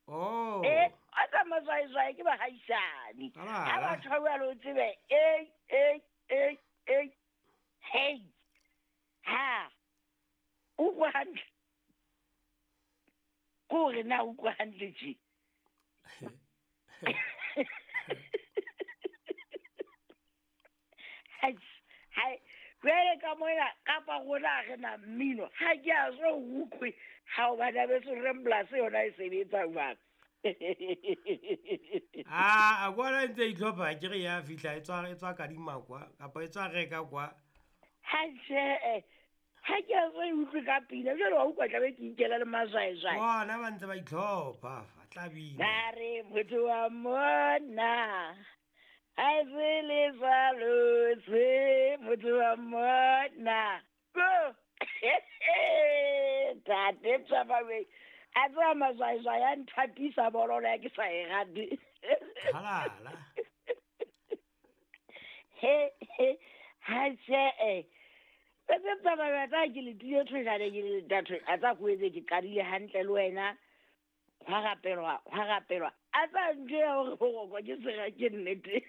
Oh. E a tsa mazwaezwae ke bagaisane Alala. ga batho ba bua le o tsebe e e e e hei ha utlwa hantle ke gore na utlwa hantle je Hai, jwale ka mona kapa rona ha re na mmino ha ke a so utlwe ha o bana beso remblase yona e sebetsa jwang. A a kwana e ntse e itlhopha ke re ya fihla e tswa e tswa kadima kwa kapa e tswa reka kwa. Ha tjhe, ha ke a so e utlwe ka pina jwale wa utlwa tlabe ke ikela le mazwaezwae. Bona ba ntse ba itlhopha fa tla bina. Ba re motho wa monna ha se le jwalo se motho wa monna ko tate Tsabawe a tseba mazwaezwae a nthapisa bololo ya ke sa e rate. Halala. He he ha tjhe Tate Tsabawe a tsa ke le tile thojane ke le datho a tsa ko etse ke qadile hantle le wena hwa rapelwa hwa rapelwa a tsa ntho ya hore ho rokwa ke sera ke nnete.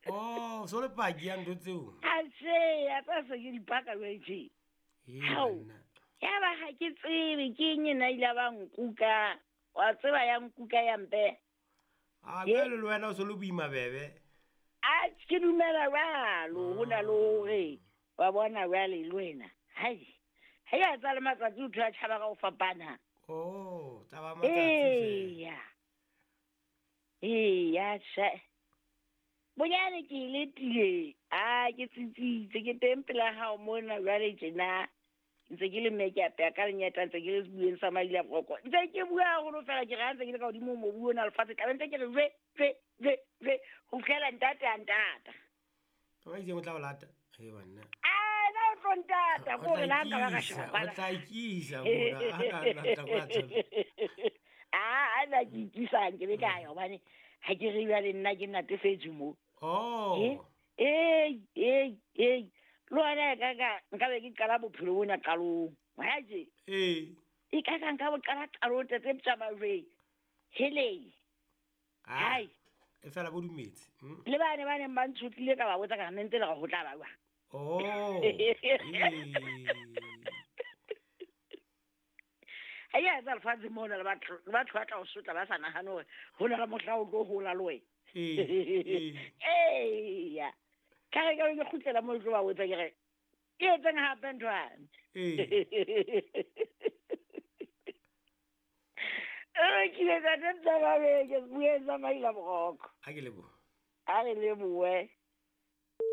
Oh, so le paki ya ntho tseo. A tjhe a tsa se ke dipaka jwale tje. Ee, Hao. banna. Ya ba ha ke tsebe ke eng ena ile ba nkuka wa tseba ya nkuka ya mpe. A Ye. jwale le wena o so le boima bebe. A ke dumela jwalo ho na le hore wa bona jwale le wena. Hai. Ha ya tsa le matsatsi o thola tjhaba ka ho fapana. Oh, taba matsatsi fela. Eya. Eya tjhe. Bonyane ke ile tile. A ke tsitsitse ke teng pela hao mona jwale tjena. Ntse ke le mme ke apeya ka lenyata ntse ke le sebueng sa Maila Broko. Ntse ke bua haholo fela ke re ha ntse ke le ka hodimo mobu ona lefatshe tlabe ntse ke re jwe jwe jwe jwe ho fihlela ntate a ntata. Ba itseng o tla o lata. Ee banna. A na o tlo ntata O ko re tla la nka ba ka ikisa, sheba o kwana. tla ikisa mona. Ha ka lata kwa tsebe. A na ke ikisang ke be ka ya hobane ha ke re jwale nna ke natefetswe mo. Oh. Ee, ee, ee. Le wena e ka ka nka be ke qala bophelo bona qalong. Wa tje? Ee. E ka ka nka bo qala qalong tate Tsamajwe. Hele. Ah. Hai. E fela bo dumetse. Le bane ba neng ba ntshotlile ka ba botsa ka re ne ntse le re ho tla ba jwang. Oh. Ee. Ha ya etsa lefatshe mona le batho le batho ba tla o sotla ba sa nahane hore ho na le mohla o tlo hola le wena. Ee. Ee. Eya. Ka re ka be ke kgutlela moo ke tlo ba botsa ke re ke etseng hape nthwane. Ee. Re kile tsa teng tsa babeke bueng tsa Maila Broko. Ha ke leboha. A re lebohe.